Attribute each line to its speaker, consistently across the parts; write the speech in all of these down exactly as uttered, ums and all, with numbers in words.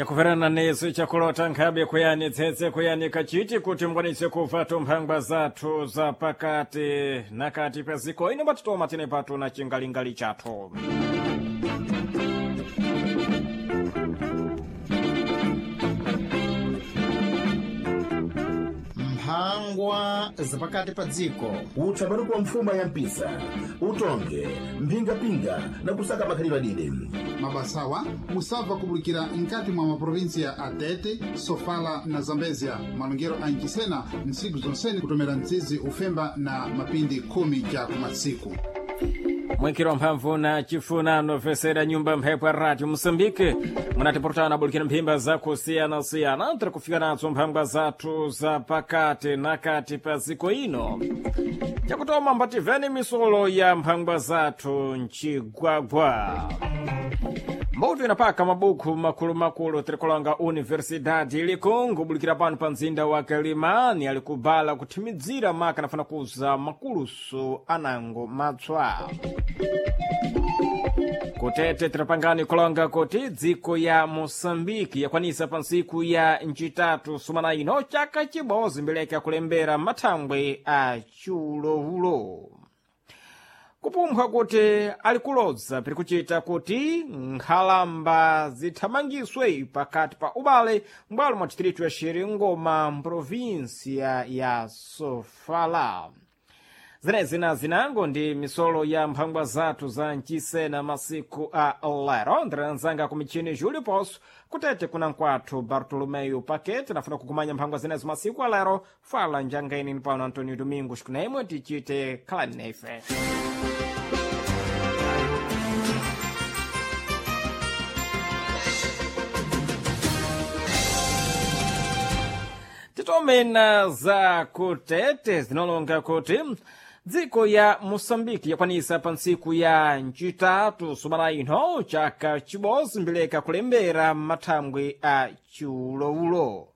Speaker 1: Chakuverana nesu chakulota nkhabe kuyani tsetse kuyani kachiti kuti mukwanise kuva tumphangwa zathu za pakati nakati pa ziko ino patitoma tine patu na chingalingali chathu.
Speaker 2: Mphangwa zapakati pa dziko.
Speaker 3: Utsabaruku wa mfuma ya mpisa, utonge mphingapinga na kusaka makhalidwe adide.
Speaker 4: Mabasawa musabva kubulikira nkati mwa maprovinsia a Tete, Sofala na Zambezia. Malongero a Nchisena ntsiku zonsene kutomera mtsizi ufemba na mapindi khumi cha kumasiku.
Speaker 1: Mwikiro mphamvu na chifunano fesera nyumba mphepo ya radio Moçambique munatipurutana bulikira mphimba zakusiyana-siyana tiri kufika nazo mphangwa zathu za pakati nakati pa ziko ino. Chakutoma mbativeni misolo ya mphangwa zathu mchigwagwa. Mbuto inapaka mabuku makulu-makulu tirikulonga Universidade ilikungu bulikira pano pa mzinda wa Kalimani alikubala kuthimidzira maka nafana kuza makuluso anango matswa. Kutete tirapangani kulonga kuti dziko ya Moçambique yakwanisa pa ntsiku ya ncitatu sumana ino chaka chibodzi mbeleka kulembera mathangwe a chiulowulo. Kupumphwa kuti alikulodza piri kuchita kuti nkhalamba zithamangiswe pakati pa ubale m'bwalo mwa distritu ya Xiringoma mprovinsia ya Sofala. Zenezi na zinango ndi misolo ya mphangwa zathu za mchisena masiku a lero. Ndiranzanga ku michini Júlio Poço kutete kuna nkwathu Bartolomeu Paquete nafuna kukumanya mphangwa zenezo masiku a lero. Fala njangaini ni pano Antonio Domingos kunaimwe tichite khalani naife. Titomena za kutete zinalonga kuti dziko ya Moçambique yakwanisa pa ntsiku ya ncitatu sumana ino chaka chibodzi mbeleka kulembera mathangwe a chiulowulo.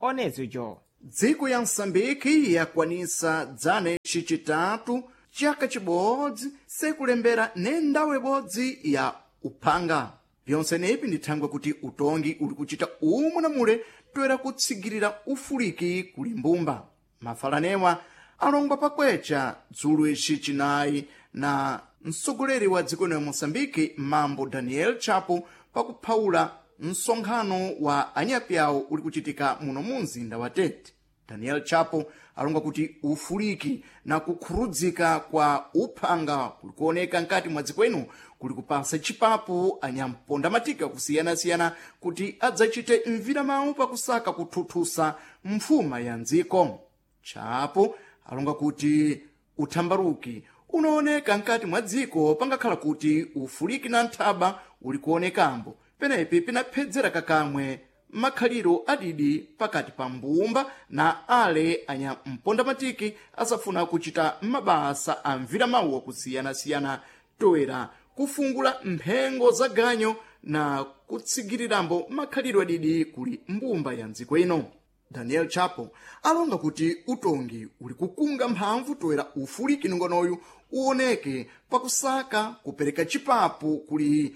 Speaker 1: Onezicho
Speaker 5: Dziko ya Msambiki yakwanisa dzana icicitatu chaka chibodzi sekulembera nendawu ibodzi ya uphanga. Byonse nepi ndi thangwe kuti utongi uli kuchita umwe na mule toera kutsigirira ufuliki kuli mbumba. Mafalanewa alongwa pakwecha dzulo ici cinayi na mtsogoleri wa dziko lino ya Moçambique Mambo Daniel Chapo pakuphawula msonkhano wa anyapyawo uli kuchitika muno mu mzinda wa Tete. Daniel Chapo alonga kuti ufuliki na kukhurudzika kwa uphanga kuli kuoneka nkati mwa dziko ino kuli kupasa chipapu anyamponda matika kusiyana-siyana kuti adzachite mviramawu pakusaka kuthuthusa mfuma ya mdziko. Chapo alonga kuti uthambaruki unaoneka nkati mwa dziko pangakhala kuti ufuliki na nthaba uli kuonekambo penepi pinaphedzera kakamwe makhaliro adidi pakati pa mbumba na ale anyampondamatiki asafuna kuchita mabasa a mviramawu akusiyana-siyana toera kufungula mphengo za ganyo na kutsigirirambo makhalidwe adidi kuli mbumba ya mdziko ino. Daniel Chapo alonga kuti utongi uli kukunga mphamvu toera ufuliki nongonoyu uoneke pakusaka kupereka chipapu kuli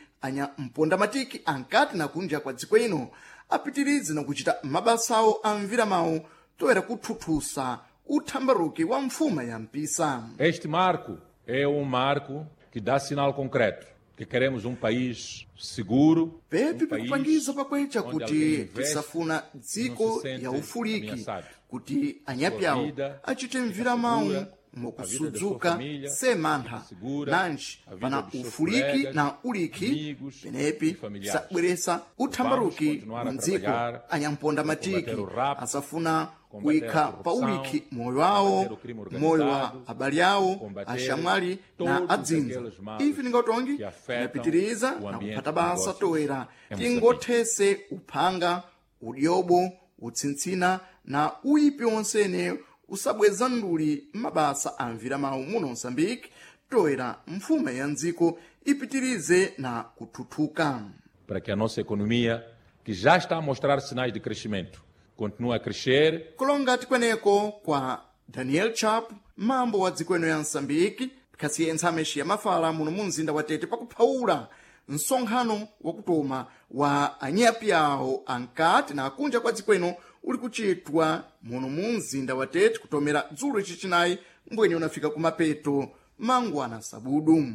Speaker 5: anyampondamatiki ankati na kunja kwa dziko ino apitirize na kuchita mabasawo a mviramawu toera kuthuthusa uthambaruki wa mfuma ya mpisa.
Speaker 6: Este marco é um marco que dá sinal concreto que queremos um país seguro.
Speaker 5: Pepi
Speaker 6: um país
Speaker 5: pikupangiza pakwecha
Speaker 6: onde
Speaker 5: kuti
Speaker 6: alguém investe
Speaker 5: tisafuna
Speaker 6: e não
Speaker 5: dziko
Speaker 6: se sente
Speaker 5: ya ufuliki
Speaker 6: ameaçado.
Speaker 5: kuti anyapyawo
Speaker 6: Sua vida
Speaker 5: achite mviramawu
Speaker 6: segura, a vida da sua
Speaker 5: mokusudzuka
Speaker 6: família
Speaker 5: semantha
Speaker 6: fica segura,
Speaker 5: nanji
Speaker 6: a vida
Speaker 5: pana
Speaker 6: dos seus
Speaker 5: ufuliki
Speaker 6: colegas,
Speaker 5: na uliki
Speaker 6: amigos
Speaker 5: penepi
Speaker 6: e familiares.
Speaker 5: sabweresa uthambaruki
Speaker 6: Vamos continuar a
Speaker 5: mdziko.
Speaker 6: trabalhar
Speaker 5: Anyamponda
Speaker 6: para
Speaker 5: matiki
Speaker 6: combater o rapto,
Speaker 5: asafuna
Speaker 6: combater
Speaker 5: kuyikha
Speaker 6: a
Speaker 5: pa
Speaker 6: corrupção,
Speaker 5: uliki moyo wawo,
Speaker 6: combater o crime
Speaker 5: moyo wa
Speaker 6: organizado,
Speaker 5: abale awo,
Speaker 6: combater
Speaker 5: axamwali na
Speaker 6: todos
Speaker 5: adzinza.
Speaker 6: aqueles males
Speaker 5: Ife ningatongi
Speaker 6: que afetam
Speaker 5: tinapitiriza
Speaker 6: o
Speaker 5: na
Speaker 6: ambiente
Speaker 5: kuphata
Speaker 6: de
Speaker 5: basa
Speaker 6: negócios
Speaker 5: toera
Speaker 6: em Moçambique.
Speaker 5: tingothese uphanga, udyobo, utsintsina na uyipi wonsene usabweza nduli mabasa a mviramawu muno Moçambique toera mfuma ya mdziko ipitirize na kuthuthuka.
Speaker 6: Para que a nossa economia, que já está a mostrar sinais de crescimento, continue a crescer.
Speaker 5: Kulonga tikweneko kwa Daniel Chapo, mambo wa dziko ino ya Msambiki, khasiye ntsameshi ya mafala muno mu mzinda wa Tete pakuphawula msonkhano wakutoma wa anyapi awo ankati na akunja kwa dziko ino uli kuchitwa muno mu mzinda wa Tete kutomera dzulo chicinayi mbwenye unafika kumapeto mangwana sabudu.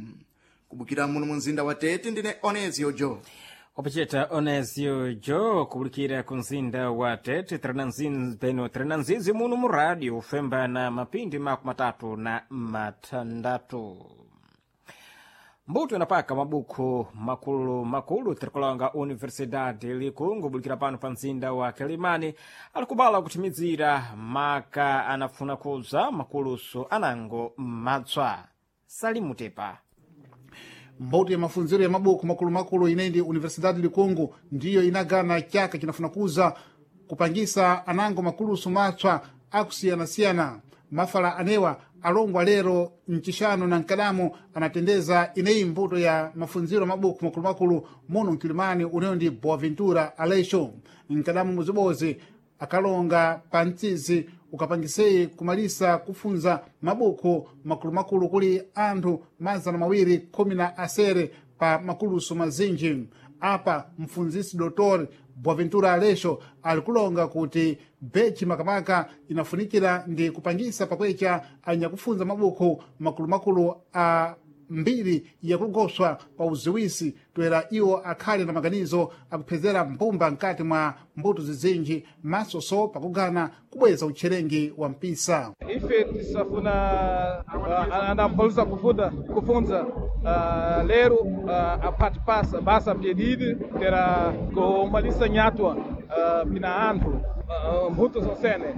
Speaker 5: Kubukira muno mu mzinda wa Tete ndine Onezio Jo.
Speaker 1: Wapacheta Onezio Jo kubulikira ku mzinda wa Tete peno tirinanzizi muno mu rádio ufemba na mapindi makumi matatu na matandatu. Mbuto inapaka mabuku makulu makulu tirikulonga Universidade Likungu bulikira pano pa mzinda wa Kilimani alikubala kuthimizira maka anafuna kuza makuluso anango matswa. Salimutepa.
Speaker 4: Mbuto ya mafunziro ya mabuku makulumakulu inendi Universidade Likungu ndiyo inagana chaka chinafuna kuza kupangisa anango makulusu matswa akusiyana-siyana. Mafala anewa alongwa lero mchixano na mkadamo anatendeza ineyi mbuto ya mafunziro mabuku makulumakulu muno mkilimani uneyo ndi Boaventura Aleixo. Mkadamo muzibozi akalonga pa mtsizi ukapangiseyi kumalisa kufunza mabuku makulumakulu kuli anthu mazana mawiri khumi na asere pa makuluso mazinji. Apa mfunzisi Dr Boaventura Aleixo alikulonga kuti bechi makamaka inafunikira ndi kupangisa pakwecha anyakufunza mabuku makulumakulu a mbiri yakugoswa pa uziwisi toera iwo akhale na maganizo akuphezera mbumba mkati mwa mbuto zizinji masoso pakugana kubweza utcherengi wa mpisa.
Speaker 7: Ife tisafuna uh, andamphalusa kufunda kufunza uh, lero uh, apati pasa basa piedide tera kumalisa nyatwa uh, pina anthu uh, mbuto zonsene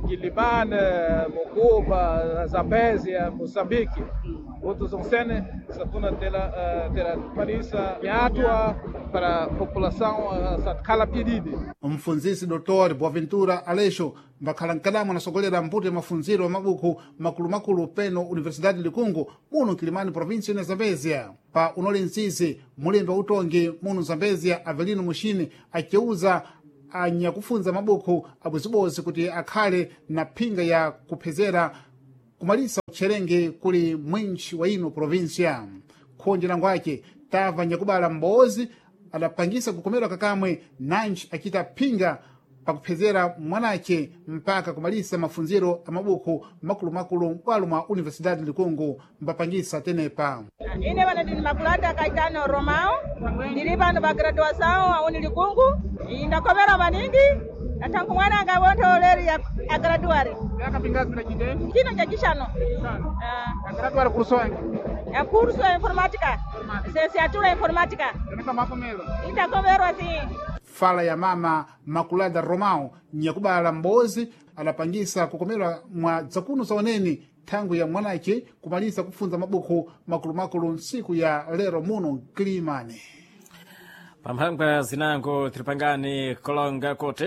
Speaker 7: Quilimane, Mocuba, Zambésia, Moçambique. Outros zonsene safuna tera uh, tera malisa nyatwa para a população uh, satkala piedide.
Speaker 4: Mfunzisi Dr Boaventura Aleixo mbakhala mkadamo anasogolera mbuto ya mafunziro ya mabuku makulumakulu peno Universidade Likungu muno Kilimani província ina Zambésia. Pa unoli mtsisi mulembe wa utongi muno Zambésia Avelino Mushini aceuza anyakufunza mabuku abwezibozi kuti akhale na phinga ya kuphezera kumalisa utcherenge kuli mwinchi wa ino província. Khonje lango ake tava nyakubala mbozi adapangisa kukomerwa kakamwe nanji achita phinga pakuphezera mwanache mpaka kumalisa mafunziro a mabuku makulumakulu m'bwalo mwa Universidade Likungu mbapangisa tenepa.
Speaker 8: Ine vano ndini Makulata Caetano Romão, ndili pano pa graduação a Unilikungu, ndakomera maningi athanku mwana angawontho leri agraduare. Chino cha chixano.
Speaker 7: Agraduare curso ange?
Speaker 8: A curso ya informática, licenciatura informática. Itakomerwa sim.
Speaker 4: Fala ya mama Makulada Romão nyakubala mbozi adapangisa kukomerwa mwa dzakuno zaoneni thangu ya mwanache kumalisa kufunza mabuku makulumakulu ntsiku ya lero muno Mkilimani.
Speaker 1: Pamphangwa zinango tiripangani kulonga kuti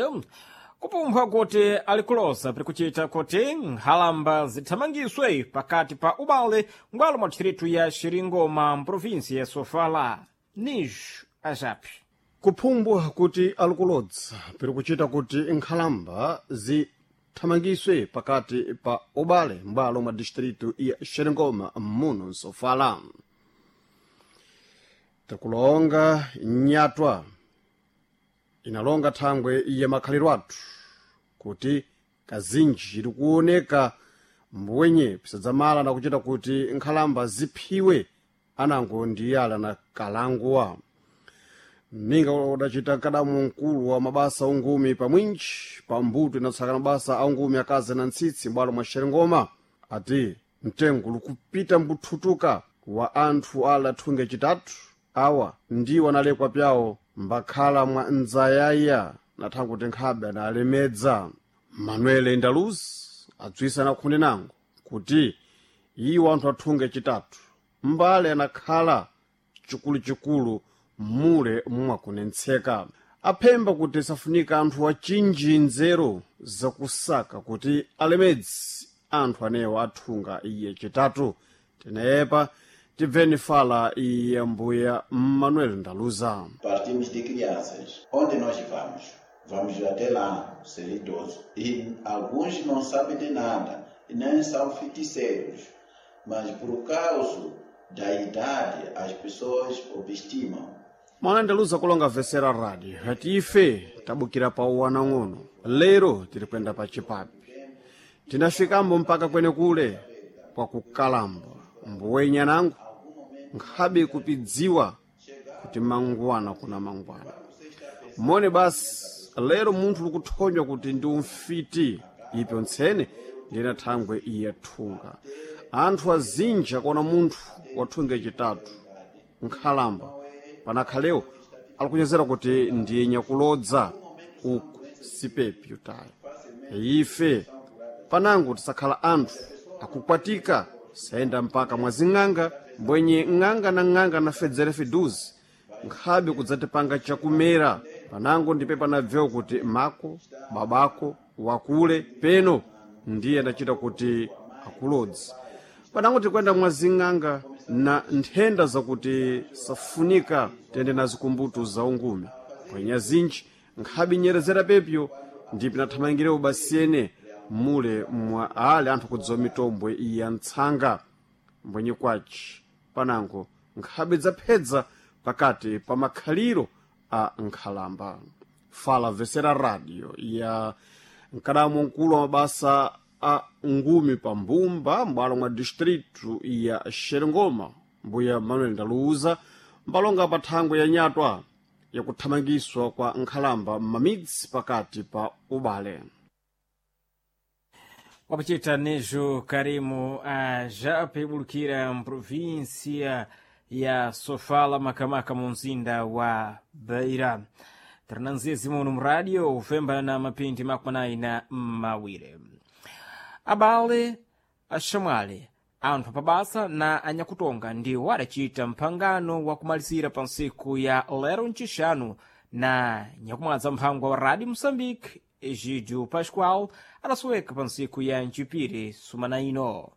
Speaker 1: kupumphwa kuti alikulosa pirikuchita kuti nkhalamba zithamangiswe pakati pa ubale ngwalo mwa distritu ya Xiringoma mprovinsi ya Sofala. Nijo ajapi.
Speaker 9: Kuphumbwa kuti alikulodza piri kuchita kuti nkhalamba zithamangiswe pakati pa ubale m'bwalo mwa distritu ya Xerengoma muno Nsofala. Tikulonga nyatwa inalonga thangwe ya makhaliro athu kuti kazinji likuoneka mbwenye pisadzamala na kuchita kuti nkhalamba ziphiwe anango ndiyala na kalanguwa. Ninga udacita kadamu mkulu wa mabasa ungumi pamwinji pa mbuto inatsaka mabasa a ungumi akazi na ntsitsi m'bwalo mwa Xerengoma ati mtengo likupita mbuthutuka wa anthu ala thunge chitatu awa ndiwo analekwa pyawo mbakhala mwa ndzayaya na thangu kuti nkhabe analemedza. Manuel Ndaluz adzwisa na khunde nango kuti iwo anthu athunge chitatu mbale anakhala chikuluchikulu mule mwakunentseka. Aphemba kuti safunika anthu achinji nzeru zakusaka kuti alemedzi anthu anewo athunga iye chitatu. Tenepa tibveni fala iye mbuya Manuel Ndaluza.
Speaker 10: Partimos de crianças. Onde nós vamos? Vamos até lá, ser idoso. E alguns não sabem de nada, e nem são feiticeiros. Mas por causa Da idade, as pessoas obestimam.
Speaker 9: Mwana ndaluza kulonga vesera radio ati ife tabukira pa uwanang'ono lero tiri kuyenda pa chipapi tinafikambo mpaka kwene kule kwa kukalamba mbuwenya nangu nkhabe kupidziwa kuti mangwana kuna mangwana mone basi lero munthu likuthonywa kuti ndi umfiti ipyo ntsene ndina thangwe iye thunga anthu azinja kuona munthu wathunga chitatu nkhalamba panakhalewo alikunyezera kuti ndiye nyakulodza uku sipepyo tayo ife panango tisakhala anthu akukwatika sayenda mpaka mwazing'anga mbwenye ng'anga na ng'anga na fedzere fiduzi nkhabe kudzatipanga chakumera panango ndipe panabvewo kuti mako babako wakule peno ndiye adachita kuti akulodzi panango tikwenda mwazing'anga na nthenda zakuti safunika tiyende nazo kumbuto za ungume pwenya zinji nkhabe nyerezera pepyo ndipo nathamangirewo basiyene mule mwa ale anthu kudziwa mitombwe ya ntsanga mbwenye kwaci panango nkhabe dzaphedza pakati pa makhaliro a nkhalamba fala vesera radio ya mkadamo mkulu wa mabasa a ngumi pa mbumba m'bwalo mwa distritu ya xerengoma mbuya manuel ndaluuza mbalonga pa thangwe ya nyatwa yakuthamangiswa kwa nkhalamba m'mamidzi pakati pa ubale.
Speaker 1: Wapachita nejo Karimu ajape bulukira mprovinsia ya Sofala makamaka mu mzinda wa Beira. Tarananzizi muno mradio ufemba na mapindi makwanayi na mawiri. Abale axamwali anthu apabasa na anyakutonga ndiwo adacita mphangano wa kumalizira pa ntsiku ya lero ncixanu na nyakumwadza mphangwa wa Radio Moçambique Egídio Pascoal adasoweka pa ntsiku ya ncipiri sumana ino.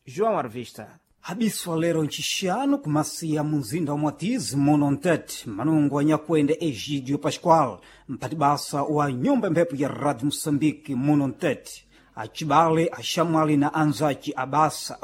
Speaker 1: João Arvista.
Speaker 11: Habiswa lero ncixanu kumasiya mu mzinda wa Mwatizi muno Ntete manungo anyakwenda Egídio Pascoal mphatibasa wa nyumba mphepo ya Rádio Moçambique muno Ntete acibale axamwali na anzaci abasa.